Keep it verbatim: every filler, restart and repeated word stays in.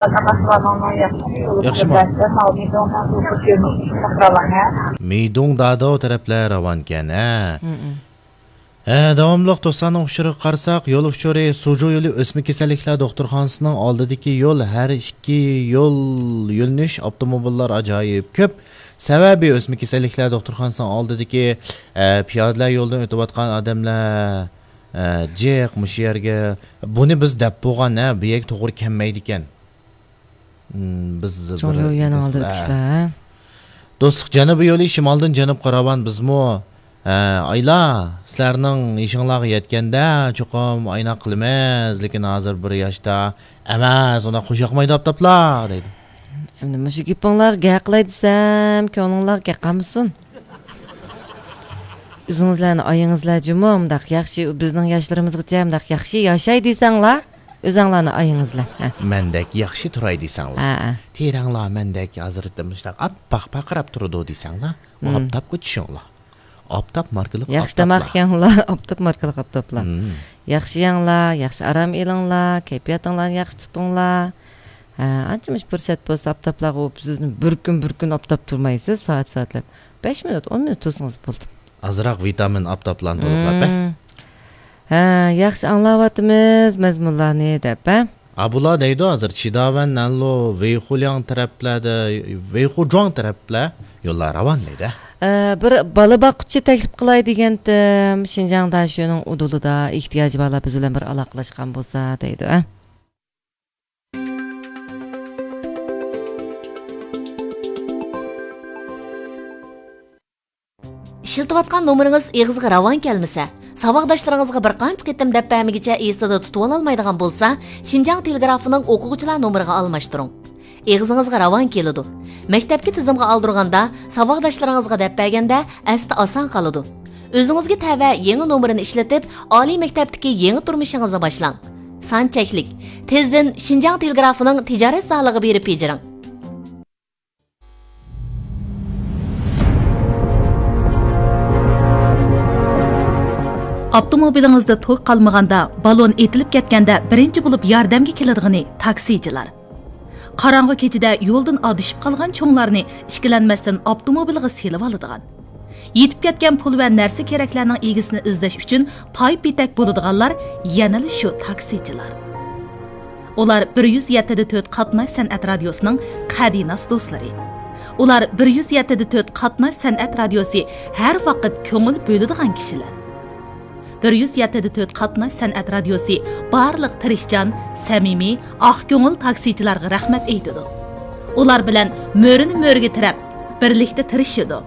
ياخشىمۇ؟ مىدۇڭ دادو تەرەپلەر راۋانكەن، ھە؟ ھە، داۋاملىق دوستلارنىڭ ئۇچۇرىغا قارىساق، يول ئۇچۇرى، سۇجۇ يولى ئۆسمە كېسەللىكلەر دوختۇرخانىسىنىڭ ئالدىدىكى يول، ھەر ئىككى يول يۆنىلىش ئاپتوموبىللار ئاجايىپ كۆپ. سەۋەبى، ئۆسمە كېسەللىكلەر دوختۇرخانىسىنىڭ ئالدىدىكى، ئە، پىيادىلەر يولىدىن ئۆتۈۋاتقان ئادەملەر، ئە، جىق مۇشۇ يەرگە، بۇنى بىز دەپ بولغان، ھە، بۇ يەرگە توغرا كەلمەيدىكەن. مم، بىز چوڭ بىر يول يەنىڭ ئالدىدىكى ئە. ئىشلار، ھە؟ دوستلۇق جەنۇبىي يولى شىمالدىن جەنۇبقا راۋان بىزمۇ. ھە، ئايلا، سىلەرنىڭ يېشىڭلارغا يەتكەندە چوقۇم ئايناق قىلىمىز، لېكىن ھازىر بىر ياشتا ئەمەس، ئۇنداق خۇش ياقمايدۇ ئاپتاپلار، دەيدۇ. ئەمدى مۇشۇ گېپىڭلارغا گەپ قىلاي دېسەم، كۆڭلۈڭلارغا گەپ قالمىسۇن. ئۆزىڭىزلەرنى ئايىڭىزلار جۇمۇ، مۇنداق ياخشى، بىزنىڭ ياشلىرىمىزغىچە مۇنداق ياخشى ياشاي دېسەڭلار، ئۆزەڭلارنى ئايىڭىزلار. ھە. مەندەك ياخشى تۇراي دېسەڭلار. ھە، ھە. تېرەڭلار مەندەك ھازىر مۇشۇنداق ئاپئاق پارقىراپ تۇرىدۇ دېسەڭلار، مم. ئاپتاپقا چۈشۈڭلار. ئاپتاپ ماركىلىق ياخشى ئاپتاپلار. تاماق يەڭلار، ئاپتاپ ماركىلىق ئاپتاپلار. مم. ياخشى يەڭلار، ياخشى ئارام ئېلىڭلار، كەيپىياتىڭلارنى ياخشى تۇتۇڭلار. ھە، ئانچە مۇشۇ پۇرسەت بولسا ئاپتاپلارغا ئۇ سىزنى بىر كۈن، بىر كۈن ئاپتاپ تۇرمايسىز، سائەت، سائەتلەپ. بەش مىنۇت، ئون مىنۇت تۇرسىڭىز بولدى. ئازراق ۋىتامىن ئاپتاپلارنى تولۇقلاپ، ھە؟ مم. ھە، ياخشى ئاڭلاۋاتىمىز مەزمۇنلارنى دەپ، ھە؟ ھا، بۇلار دەيدۇ ھازىر چىداۋەن، نەنلۇ، ۋېيخۇلياڭ تەرەپلەردە، ۋېيخۇجۇاڭ تەرەپلەر يوللار راۋان دەيدۇ. ئە، بىر بالا باققۇچى تەكلىپ قىلاي دېگەنتىم، شىنجاڭ داشۆنىڭ ئۇدۇلىدا ئېھتىياجى بارلار بىز بىلەن بىر ئالاقىلەشكەن بولسا دەيدۇ، ھە؟ ئىشلىتىۋاتقان نومۇرىڭىز ئېغىزغا راۋان كەلمىسە، ساۋاقداشلىرىڭىزغا بىر قانچە قېتىم دەپ بەرمىگىچە ئېسىدە تۇتۇۋالالمايدىغان بولسا، شىنجاڭ تېلېگرافىنىڭ ئوقۇغۇچىلار نومۇرىغا ئالماشتۇرۇڭ. ئېغىزىڭىزغا راۋان كېلىدۇ. مەكتەپكە تىزىمغا ئالدۇرغاندا، ساۋاقداشلىرىڭىزغا دەپ بەرگەندە ئەستە ئاسان قالىدۇ. ئۆزىڭىزگە تەۋە يېڭى نومۇرىنى ئىشلىتىپ، ئالىي مەكتەپتىكى يېڭى تۇرمۇشىڭىزنى باشلاڭ. سان چەكلىك. تېزدىن شىنجاڭ تېلېگرافىنىڭ تىجارەت زالىغا بېرىپ بېجىرىڭ. ئاپتوموبىلىڭىزدا توك قالمىغاندا، بالون ئېتىلىپ كەتكەندە بىرىنچى بولۇپ ياردەمگە كېلىدىغىنى تاكسىچىلار. قاراڭغۇ كېچىدە يولدىن ئادىشىپ قالغان چوڭلارنى ئىككىلەنمەستىن ئاپتوموبىلغا سېلىۋالىدىغان، يىتىپ كەتكەن پۇل ۋە نەرسە-كېرەكلەرنىڭ ئىگىسىنى ئىزدەش ئۈچۈن پاي-پېتەك بولىدىغانلار يەنىلا شۇ تاكسىچىلار. ئۇلار بىر يۈز يەتتە دە تۆت قاتناش سەنئەت رادىيوسىنىڭ قەدىناس دوستلىرى. ئۇلار بىر يۈز يەتتە دە تۆت قاتناش سەنئەت رادىيوسى ھەر ۋاقىت كۆڭۈل بۆلىدىغان كىشىلەر. بىر يۈز يەتتە دە تۆت قاتناش سەنئەت رادىيوسى بارلىق تىرىشچان، سەمىمىي، ئاق كۆڭۈل تاكسىچىلارغا رەھمەت ئېيتىدۇ. ئۇلار بىلەن مۈرىنى مۈرىگە تىرەپ، بىرلىكتە تىرىشىدۇ.